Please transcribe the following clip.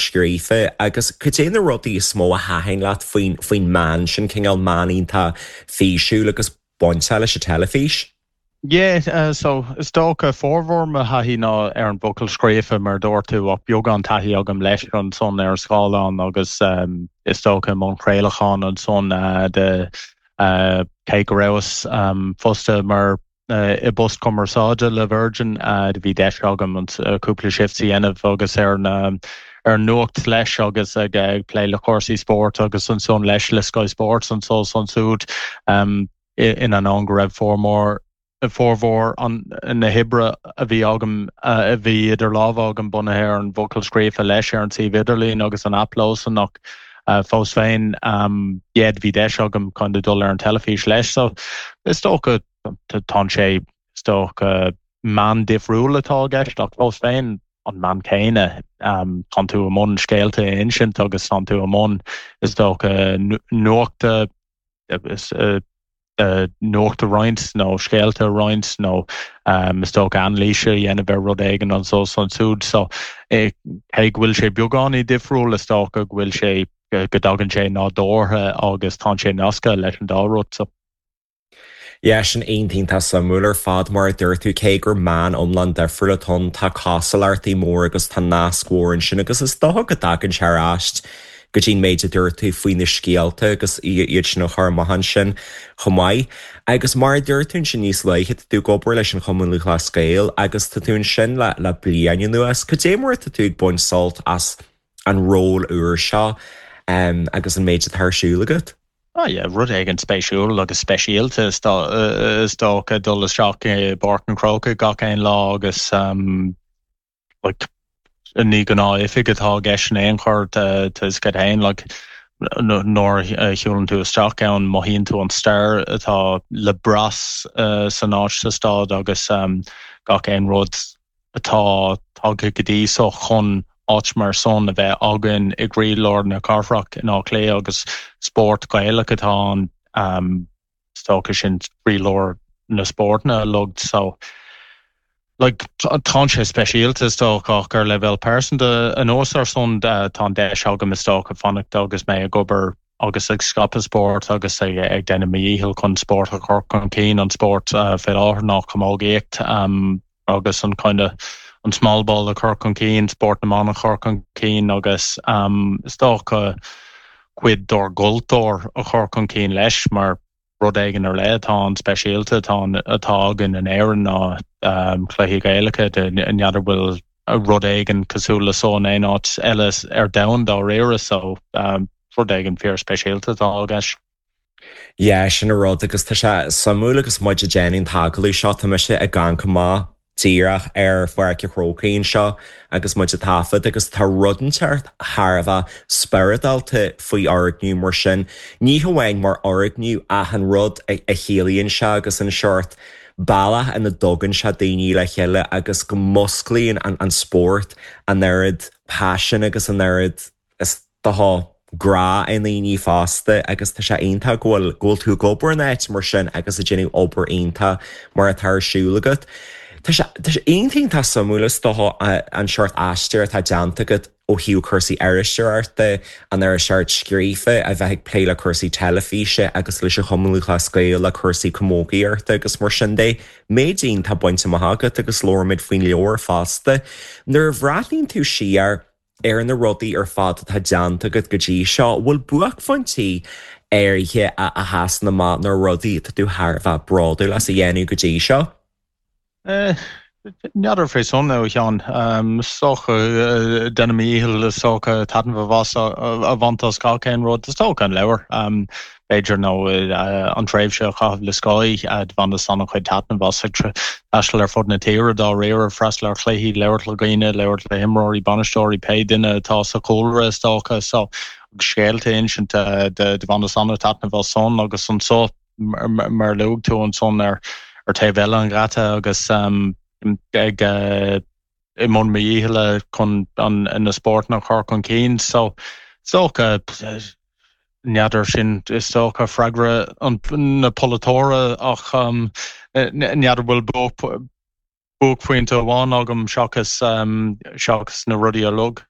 Scríofa agus cad é na rudaí is mó a thaitin leat faoin faoin meán sin, cineál meán iontach físiúil agus bainteach leis an teilifís? Yeah, so is dócha formhór mo thaithí ná ar an bhfocal scríofa mar a dúirt tú ach beagán taithí agam leis ansan ar an scáileán agus is dócha i mbun craolacháin ansan de cé go rabhas fostaithe mar i bpost cumarsáide le Virgin. Do bhí deis agam cúpla shift a dhéanamh agus ar an ar an nuacht leis agus ag plé le cúrsaí spóirt agus ansan leis le Sky Sports anso is ansúd in ainneoin go raibh formhór formhór na hoibre a bhí agam a bhí idir lámha agam bunaithe ar an bhfocal scríofa leis ar an suíomh idirlín agus an aip leosan ach fós féin yeah bhí deis agam kind of dul ar an teilifís leis so is dócha tá sé is dócha meán difriúil atá i gceist ach fós féin an meán céanna tánn tú i mbun scéalta a insint agus tánn tú i mbun is dócha nuachta nuacht a roinnt nó scéalta a roinnt nó is dócha anailís a dhéanamh ar rud éigin anso is ansúd. So cé go bhfuil sé beagáinín difriúil is dócha go bhfuil sé go dtagann sé nádúrtha agus tánn sé nasctha leis an dá rud. So. Yeah, sin iontach iontach suimiúil ar fad mar a dúirt tú cé gur meán iomlán difriúil atá ann tá cosúlachtaí mór agus tá nasc mhór ansin agus is dócha go dtagann sé ar ais go dtí an méid a dúirt tú faoi na scéalta agus iad sin a chur amach ansin chomh maith. Agus mar a dúirt tú ansin níos luaithe, tá tú ag obair leis an Chumann Lúthchleas Gael agus tá tú ansin le le bliain anuas. Cad é mar atá tú ag baint sult as an ról úr seo agus an méid atá ar siúl agat? Ah yeah, rud éigin spéisiúil agus speisialta is dócha dul isteach i bPáirc an Chrócaigh gach aon lá agus like ní gnáth-oifig atá i gceist in aon chor tá a fhios agat féin like nuair a shiúlann tú isteach ann mothaíonn tú an stair atá le brath san áit sa staid agus gach aon rud atá tagtha go dtí so chun áit mar san a bheith againn i gcroílár na cathrach in Áth Cliath agus spórt Gaelach atá ann. Is dócha sin croílár na spórtanna uilig so like tánn sé speisialta is dócha ach ar leibhéal pearsanta anuas ar san tá an deis agam is dócha fanacht agus mé ag obair agus ag scaipeadh spóirt agus ag ag déanamh mo dhícheall chun spórt a chur chun cinn an spórt fé láthair ná camógaíocht agus an kind of an small ball a chur chun cinn, spórt na mban a chur chun cinn agus is dócha cuid dár gcultúr a chur chun cinn leis mar rud éigin ar leith atá an speisialta atá atá againn in Éirinn ná cluichí Gaelacha n'fheadar bhfuil rud éigin cosúil le so in aon áit eile ar domhan dáiríre so rud éigin fíor speisialta atá i gceist. Yeah, sin an rud agus tá sé suimiúil agus muid ag déanamh an t-agallamh seo, tá mise ag amharc amach díreach ar Pháirc an Chrócaigh anseo agus muid ag taifead agus tá rud inteacht thar a bheith spioradálta faoi fhoirgneamh mar sin, ní hamháin mar fhoirgneamh ach an rud a chiallaíonn sé agus an seort bealach ina dtugann sé daoine le chéile agus go musclaíonn an spórt an oiread paisin agus an oiread is dócha grá i ndaoine fosta agus tá sé iontach go bhfuil, go bhfuil tú ag obair in áit mar sin agus ag déanamh obair iontach mar atá ar siúl agat. Tá sé, tá sé iontach iontach suimiúil is dócha an seort aistear atá déanta agat ó thaobh cúrsaí iriseoireachta, an iriseoireacht scríofa, a bheith ag plé le cúrsaí teilifíse agus leis an Chumann Lúthchleas Gael le cúrsaí camógaíochta agus mar sin de. Méid iontach bainte amach agat agus labhróimid faoin leabhar fosta. Nuair a bhreathnaíonn tú siar, ar na rudaí ar fad atá déanta agat go dtí seo, bhfuil buaicphointí áirithe a sheasann amach nó rudaí atá tú thar a bheith bródúil as a dhéanamh go dtí seo? N'fheadar fé san, a Sheáin. Is dócha, déanaim mo dhícheall is dócha taitneamh a bhaint as gach aon rud. Is dócha an leabhar. b'fhéidir, nó an tréimhse a chaitheamh le Sky, do bhaineas an-chuid taitneamh as ag taisteal ar fud na tíre dáiríre, freastal ar chluichí, labhairt le dhaoine, labhairt le himreoirí, bainisteoirí, pé duine atá sa chúlra is dócha. So, agus scéalta a insint, do bhaineas an-taitneamh as san agus anso, mar a luaigh tú ansan ar taobh eile an gheata agus ag i mbun mo dhícheall chun na spórtanna a chur chun cinn. So, is dócha, N'fheadar, sin is dócha freagra na polaiteora ach n'fheadar bhfuil buaicphointe amháin agam seachas seachas na rudaí a luadh.